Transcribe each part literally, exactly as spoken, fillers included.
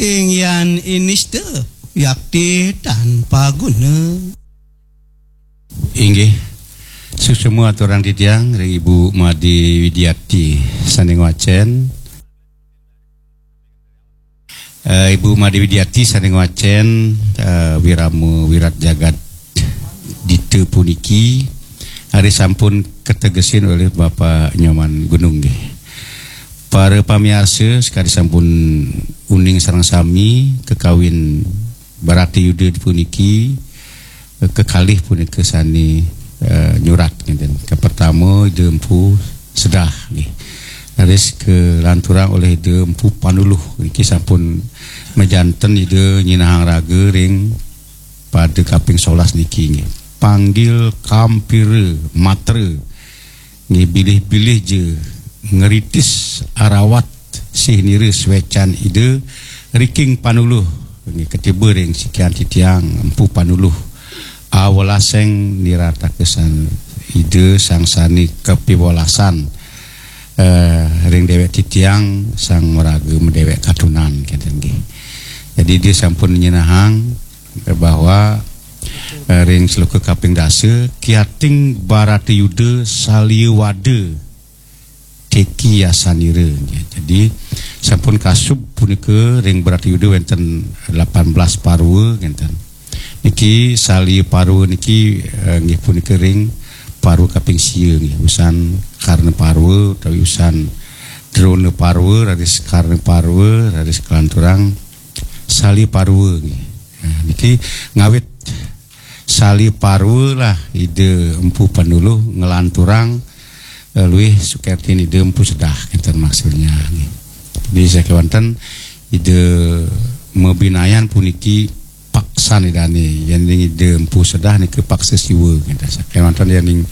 Inggian inista yakti tanpa guna. Inggih. Suksma aturang titiang ring Ibu Made Widiati sane ngwacen. Eh, Ibu Made Widiati sane ngwacen, eh, wirama wirat jagat dita puniki, ari sampun kategesin olih Bapak Nyoman Gunung nggih. Para pamiarsa, sakadi sampun uning sareng sami, kakawin Baratayuda puniki, eh, kekalih punika sane, eh, nyurat ngenten. Kapertama Ida Empu Sedah nggih. Raris kalanturang olih Ida Empu Panuluh. Niki sampun majanten Ida nyinahang raga ring pada kaping solas niki nggih. Panggil kampira matra nggih, bilih-bilih ja ngritis arawat sih nira swecan Ida Riking Panuluh nggih, katiba ring sikian titiang Empu Panuluh. Awelaseng nirataka san Ida sang sane kapiwelasan, eh, ring dewek titiang sang maraga madewek katunan kenten nggih. Jadi dia sampun nyinahang bahwa, eh, ring sloka kaping dasa, kiating Baratayuda salia wada teki yasanira. Jadi sampun kasub punika ring Baratayuda wenten lapan belas parwa ngenten. Niki salia parwa niki, eh, nggih punika ring parwa kaping sia nggih, usan Karna Parwa utawi usan Drona Parwa, raris Karna Parwa, raris kalanturang salia parwa nggih. Nah, niki ngawit salia parwa lah Ida Empu Panuluh nglanturang, eh, luih sukertin Ida Empu Sedah, kenten maksudnya nggih. Jadi sakewanten Ida mabinayan puniki paksan Idane, yening Ida Empu Sedah nika paksa Siwa, kenten. Sakewanten yening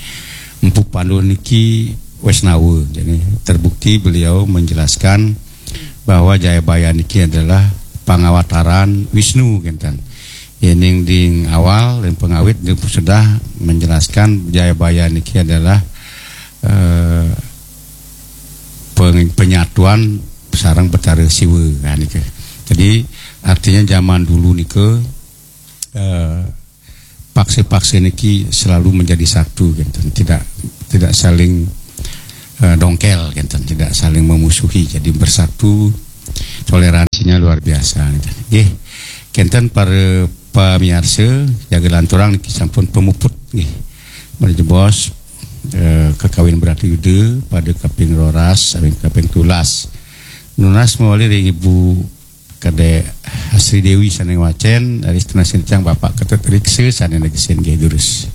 Empu Panuluh niki Wesnawa. Jadi terbukti beliau menjelaskan bahwa Jayabaya niki adalah pangawataran Wisnu, kenten. Yening ding awal dan pengawit Ida Empu Sedah menjelaskan Jayabaya niki adalah, eh, peng-, penyatuan sareng Betara Siwa, nah, nika. Jadi artinya zaman dulu nika, eh, paksa-paksa niki selalu menjadi satu, kenten. Tidak, tidak saling, eh, dongkel, kenten, tidak saling memusuhi. Jadi bersatu, toleransinya luar biasa, kenten. Nggih, kenten para pamiarsa, jaga lanturang niki sampun pamuput nggih. Mari jebos, eh, kakawin Baratayuda pada kaping roras, kaping, kaping tulas. Nunas mawali ring Ibu Kadek Sri Dewi sane ngwacen, raris tunas titiang Bapak Ketut Riksa sane negesin nggih durus.